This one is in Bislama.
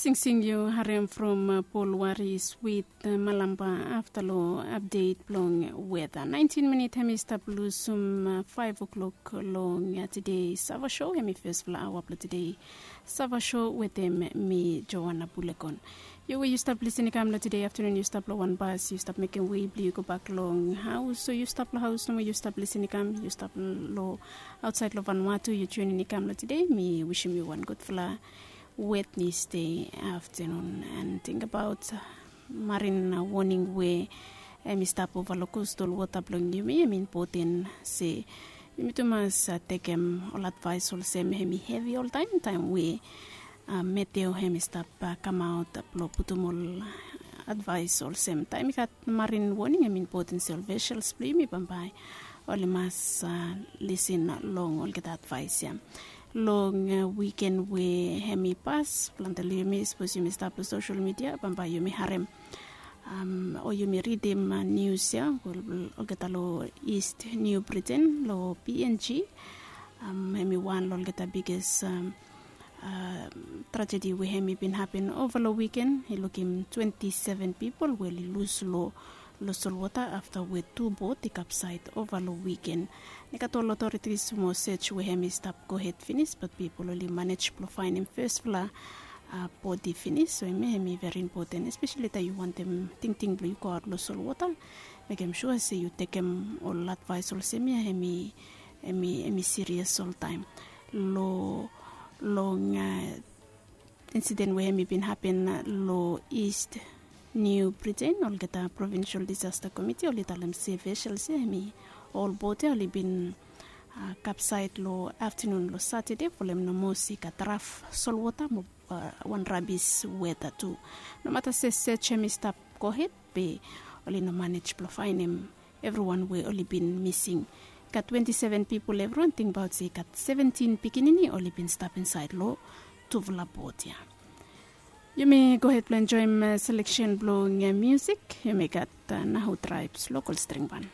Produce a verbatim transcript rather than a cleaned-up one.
Singsing yu harem from Pol Waris wit Malamba afta long apdet blong weta. Naentin minit hem i stap lusum faev o'klok long tede Sava Show. Hem i fespela aoa blong tede Sava Show wetem mi, Joana Bulekon. Yu we yu stap lisin i kam long tede aftanun, yu stap long wan bas, yu stap mekem wei blong yu go bak long haus, o yu stap long haus nomo yu stap lisin i kam, yu stap long ausait long Vanuatu, yu tunin i kam long tede, mi wisim yu wan gudfala Wednesday aftanun. And tingbaot marin woning we hem i stap ova long kostal wota blong yumi, hem i impoten se yumi tu mas tekem ol advaes olsem hem i hevi oltaem, taem we meteo hem i stap kamaot blong putum ol advaes olsem taem i gat marin woning, hem i impoten se ol vesels blong yumi bambae oli mas lisin long olgeta advaes ya. Long wiken we hem i pas, plante long yumi sapos yumi stap long sosel midia bambae yumi harem o yumi ridim nius ya, olgeta long East New Britain long P N G, hem i wan long olgeta biges trajedi we hem i bin hapen ova long wiken. I lukim twenti seven pipol we oli lus long solwota afta we tu bot i kapsaed ova long wiken. I gat ol otoritis mo sej we hem i stap gohed finis, bat pipol oli manej blong faenem fesfala bodi finis. So hemia hem i veri impoten, espeseli taem yu wantem tingting blong yu goaot long solwota, mekem sua se yu tekem ol advaes olsem ya hem i sirias oltaem. Long long insiden we hem i bin hapen long East New Britain, olgeta Provincial Disaster Committee oli talem se vesels ya hem i ol bot ya oli bin kapsaed long aftanun long Satade folem nomo se i gat raf solwota mo wan rabis weta tu. Nomata se sej hem i stap gohed, be oli no manej blong faenem evriwan we oli bin mising. I gat twenti seven pipol evriwan tingbaot se i gat seventin pikinini oli bin stap insaed long tufala bot ya. Yumi gohed blong enjoem seleksen blong musik. Yumi gat Nahu Tribes, Lokol String Ban.